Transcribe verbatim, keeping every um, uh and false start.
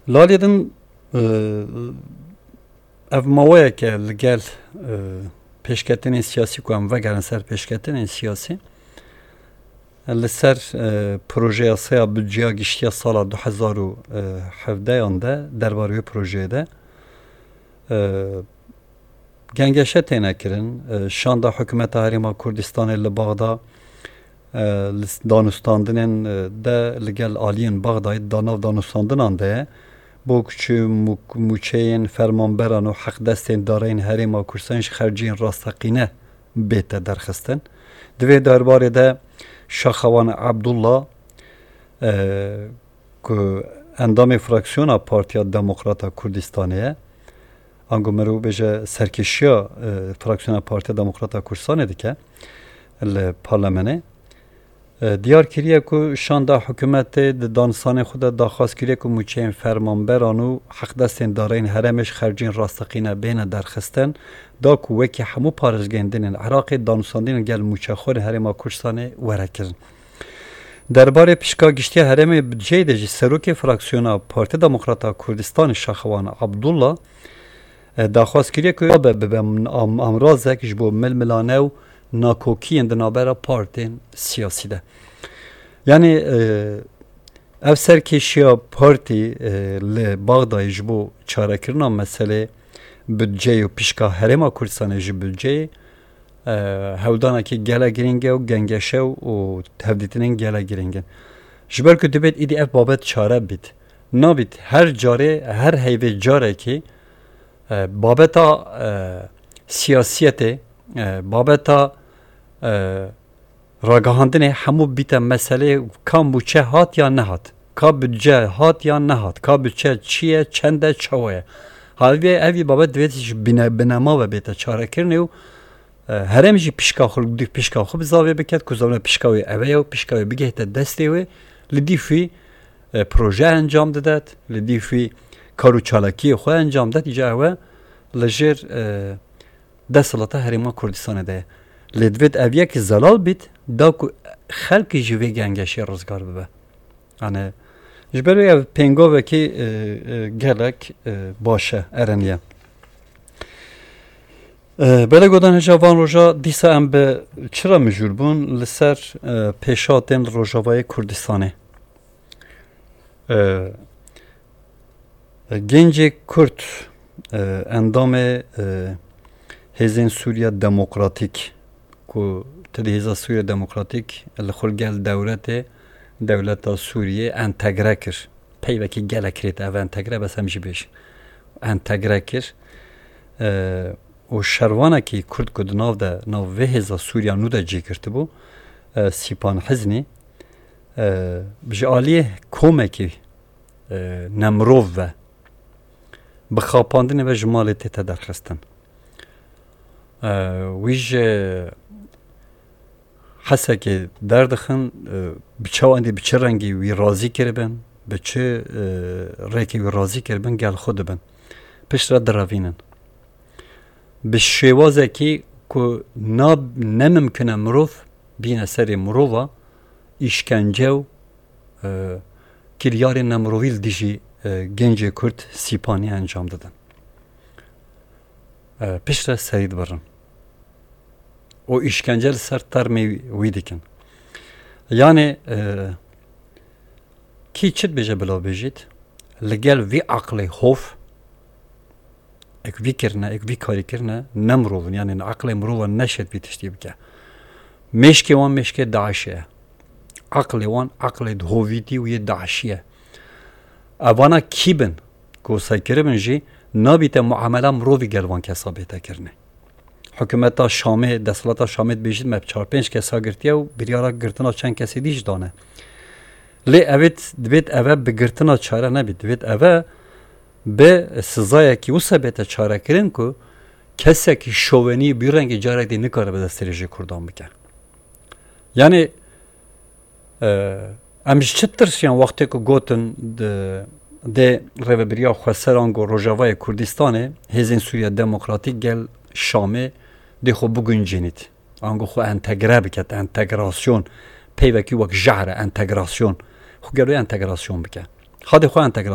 Lalê din, e, ev maweyeke li gel, e, pêşketinên siyasî ku em vegerin ser pêşketinên siyasî, li ser, e, projeya sê ya budceya giştiya sala du hezar û hevdeyan de, derbarê wê projeyê de, e, gengeşe têne kirin. E, şanda Hikûmeta Herêma Kurdistanê li Baxda, e, li s-, danûstandinên, e, de li gel aliyên Baxdayê da nav danûstandinan de ye. Bo ku çi mû-, mûçeyên fermanberan û heqdestên dareyên Herêma Kurdistanê ji xerciyên rasteqîne bête derxistin. Di vê derbarê de Şaxewan Abdullah, e, ku endamê fraksiyona Partiya Demokrata Kurdistanê ye, ango mirov bêje serkêşiya, e, fraksiyona Partiya Demokrata Kurdistanê dike li parlamenê, e, diyar kiriye ku şanda hikûmetê di danûstanê xwe de daxwaz kiriye ku mûçeyên fermanberan û heqdestên dareyên herêmê ji xercên rasteqîne bêne derxistin, da ku wekî hemû parêzgehên din ên Iraqê danûstandinên gel mûçexwerên Herêma Kurdistanê were kirin. Derbarê pişka giştiya herêmê budceyê de jî serokê fraksiyona Partiya Demokrata Kurdistanê Şaxewan Abdullah, e, daxwaz kiriye ku be bibe am-, amrazek ji bo milmilane û nakokiyên di navbera partên siyasî de. Yanî, e, ev serkêşiya partî, e, li Baxdayê ji bo çarekirina meselê budceyê û pişka Herêma Kurdistanê ji budceyê, e, hewldanekî gelek girîng e û gengeşe û, û hevdîtinên gelek girîng in. Ji ber ku dibêt îdî ev babet çare bît. Nabît her carê, her heyvê carekî, e, babeta, e, siyasiyetê, e, babeta, e, ragihandinê hemû bîte meselê ka mûçe hat ya nehat, ka budce hat ya nehat, ka budce çi ye, çend e, çawa ye. Havê evî babet divêt ji bine-, binema ve bête çarekirinê û, e, herêm jî pişka xwe, li dî pişka xwe bi zavê biket ku zavê pişka wê eve ye û pişka wê bigihte destê wê, li dî fî, e, proje encam didet, li dî fî kar û çalakiyê xwe encam didet, îca ewe li jêr, e, desthilata Herêma Kurdistanê de ye. Lê divêt ev yek zelal bît, da ku xelkî ji vê gengeşê rizgar bibe. Yanî, ji ber wê ev pêngovekî, e, e, gelek, e, baş e, erenî ye. E, belê godan hêja van roja dîsa em bi çi re mijûl bûn? Li ser, e, pêşhatên li Rojavayê Kurdistanê. E, Gencê Kurd, e, endamê, e, Hêzên Sûriya Demokratîk, ku ti dî Hêza Sûriya Demokratîk li xwe gel dewletê, dewleta Sûriyê entegre kir. Peyvekî gelek kirêt ev entegre, bes em jî bêjin. Entegre kir. E, û şervanekî Kurd ku di nav de, nav vê hêza Sûriya nû de cî girtibû, e, Sîpan Hiznî, e, ji aliyê komekî, e, nemirov ve, bi xapandinê ve ji malê tête derxistin. E, wî ji Hesekê derdixin, e, bi çawa endî, bi çi rengî wî razî kiribin, bi çi, e, rêkê wî razî kiribin, gel xwe dibin. Piştre direvînin. Bi şêwazekî ku na, ne mimkun e mirov bîne serê mirova, îşkence û, e, kiryarên nemirovî li dijî, e, gencê Kurd Sîpanî encam didin. E, piştre serî dibirin. Û îşkence li ser termê wî dikin. Yanê, e, kî çi dibêje bila bêjît, li gel vî aqlê hov, ek vî kirine, ek vî karî kirine, ne mirov in, yanê aqlê mirova neşêt vî tiştî bike. Mêşkê wan mêşkê DAIŞê ye. Aqlê wan aqlê hovîtî û yê DAIŞî ye. Evana kî bin, ku qisey kiribin jî, nabîte muamela mirovî gel van kesa bête kirinê. Hikûmeta Şamê, desthilata Şamê dibêjît me çar pênc kesa girtiye û biryara girtina çend kesê dî jî dane. Lê evêt, divêt eve bi girtina çare nebît. Divêt eve bi sizayekî wisa bête çarekirin ku kesekî şovenî bi rengî carek dî nikare bi destdirêjê Kurdan bike. Yanî, e, em ji çi tirsiyan wextê ku gotin di, dê rêvebiriya xweser ango Rojavayê Kurdistanê, Hêzên Sûriya Demokratîk gel Şamê dê xwe biguncînît. Ango xwe entegre biket, entegrasyon. Peyvekî wek jehr e, entegrasyon. Xwe gelo entegrasyon bike. Hadê xwe entegrasyon